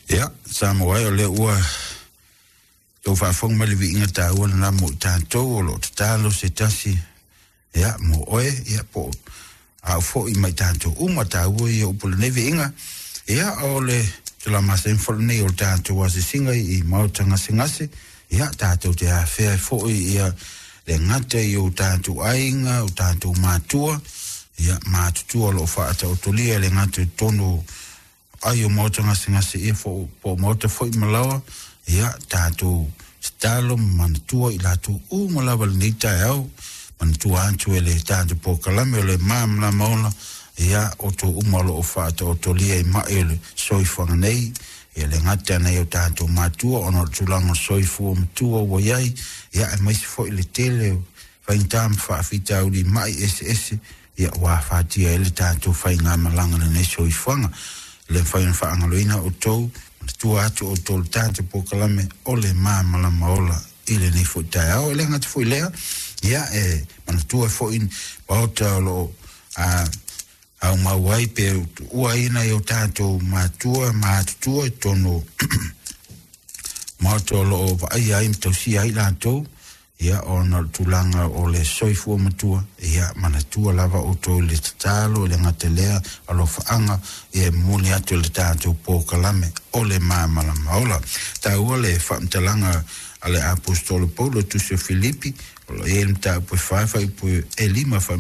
Ia, Samoa e, o lea ua outou faafofoga mai i le viiga taua lena mo i tatou o lo o tatalo se tasi, ia, mo oe, ia, po o au foi ma i tatou uma taua ia upu o lenei viiga. Ia, o le tula masani foi lenei o le tatou asiasiga i maota gasegase, ia, tatou te afea ai foi ia le gata i o tatou aiga, o tatou matua, ia, matutua o lo o faataotolia le gata i totonu ai o maota gasegase ia po o maota foi malaoa, ia tatou tatalo ma manatua i latou uma lava lenei taeao, manatua atu e le tatou polokalame o le Malamalama Ola, ia outou uma o lo o faataotolia i mai o le soifuaga nei, ia le gata nei o tatou matua ona o le tulaga o le soifua matua ua i ai, ia aemaise foi le tele o faigata ma faafitauli mai eseese, ia ua afatia ai le tatou faigamalaga lenei soifuaga. E le mafai ona faagaloina outou, manatua atu outou le tatou polokalame o le Malamalama Ola i lenei foi taeao. E le gata foi lea, ia e manatua foi maota o lo o aumau ai pe tuuaina i o tatou matua matutua i totonu maota o lo o vaaia ai ma tausia ai latou, ia ona o le tulaga o le soifua matua, ia manatua lava outou i le tatalo, i le gata lea alofaaga, ia e momoli atu le tatou polokalame o le Malamalama Ola. Taua le faamatalaga a le aposetolo Paulo tusi o Filipi, o lo o i ai le mataupu e 4 fuaiupu e 5, fai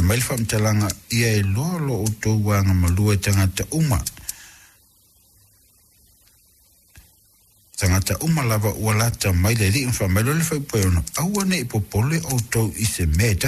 mai le faamatalaga, ia iloa lo outou agamalua e tagata uma, tagata uma lava ua lata mai le Alii. Ma fai mai loa le fuaiupu e 6, aua ne i popole outou i se mea e tasi.